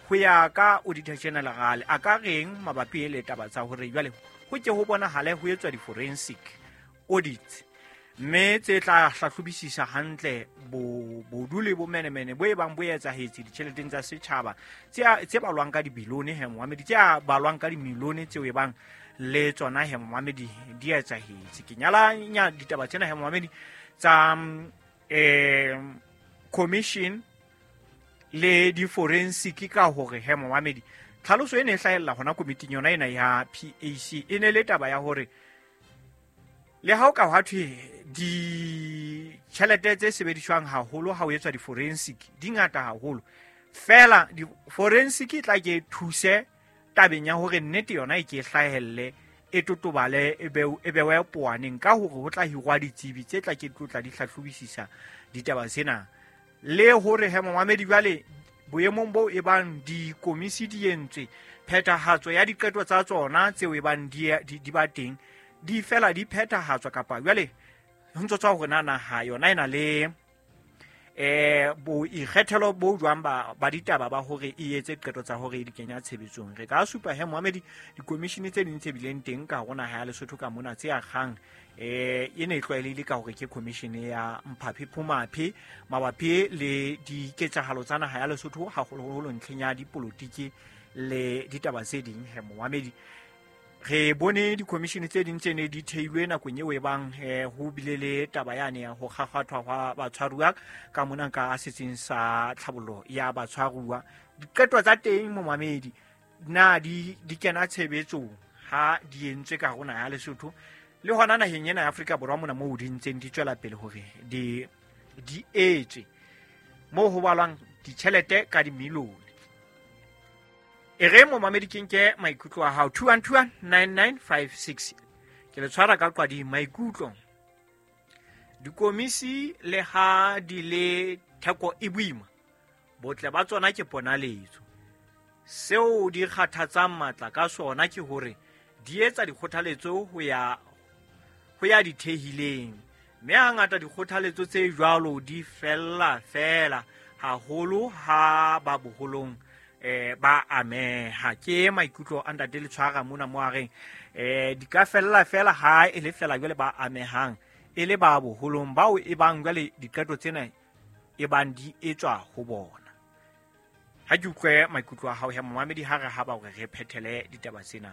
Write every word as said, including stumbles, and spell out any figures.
Ho ya ka Auditor General a ka reng mabapi le taba tsa hore jwale ho ke ho bonahale ho etswa di-forensic audits, mme tse tla hlahlobisisa hantle bo bodu le bomenemene bo e bang bo etsahetse ditjheleteng tsa setjhaba tse tse balwang ka dibilione he momamedi, tse balwang ka dimilione tseo e bang le tsona he momamedi di etsahetse. Ke nyalanya ditaba tsena he momamedi tsa eh commission le di-forensic ka hore he momamedi tlhaloso e ne e hlahella hona komiting yona ena ya P A C e ne le taba ya hore le ha o ka hwa thwe ditjhelete tse sebediswang haholo ha o etswa di-forensic di ngata haholo, fela di-forensic e tla ke thuse tabeng ya hore nnete yona e ke hlahelle e totobale e be e bewe poaneng ka hore ho tla hirwa ditsebi tse tla ke tlotla di hlahlobisisa ditaba tsena. Le hore he momamedi jwale boemong bo e bang dikomisi di entswe, phethahatso ya diqeto tsa tsona tseo e bang di, di, di ba teng di fela di phethahatswa kapa jwale ho ntso tswa hore na naha yona e na le eh boikgethelo bo jwang ba ba ditaba ba hore e etse qeto tsa hore e di kenya tshebetsong. Re ka supa he momamedi dikomishene tse ding tse bileng teng ka hore naha ya Lesotho ka mona tse akgang eh e ne e tlwaelehile ka hore ke commission ya Mphaphe Phumaphe mabapi le diketsahalo tsa naha ya Lesotho haholoholo ntlheng ya dipolotiki le ditaba tse ding he momamedi. Re bone di-commission tse ding tse ne di theilwe nakong eo e bang ho bile le taba yane ya ho kgakgathwa hwa batshwaruwa ka mona ka setsing sa tlhabollo ya batshwaruwa. Diqeto tsa teng momamedi na di di kena tshebetsong ha di entswe ka hare ho naha ya Lesotho le hona naheng ena ya Afrika Borwa mona moo di ntseng di tswela pele hore di di etswe moo ho balwang ditjhelete ka dimilione. E re momamedi ke nke maikutlo a hao two one two one nine nine five six. Ke le tshwara ka qwadi maikutlo. Dikomisi le ha di le theko e boima, botle ba tsona ke ponaletso. Seo di kgathatsang matla ka sona ke hore di etsa dikgothaletso ho ya ho ya dithehileng, mme hangata dikgothaletso tse jwalo di fella fela haholo ha ba boholong eh ba ameha. Ke maikutlo a ntate le tshwara mona mo a reng eh di ka fella fela ha e le fela jwale ba amehang e le ba boholong bao e bang jwale diqeto tsena e bang di etswa ho bona. Ha ke utlwe maikutlo a hao ya momamedi ha re ha ba hore re phethele ditaba tsena.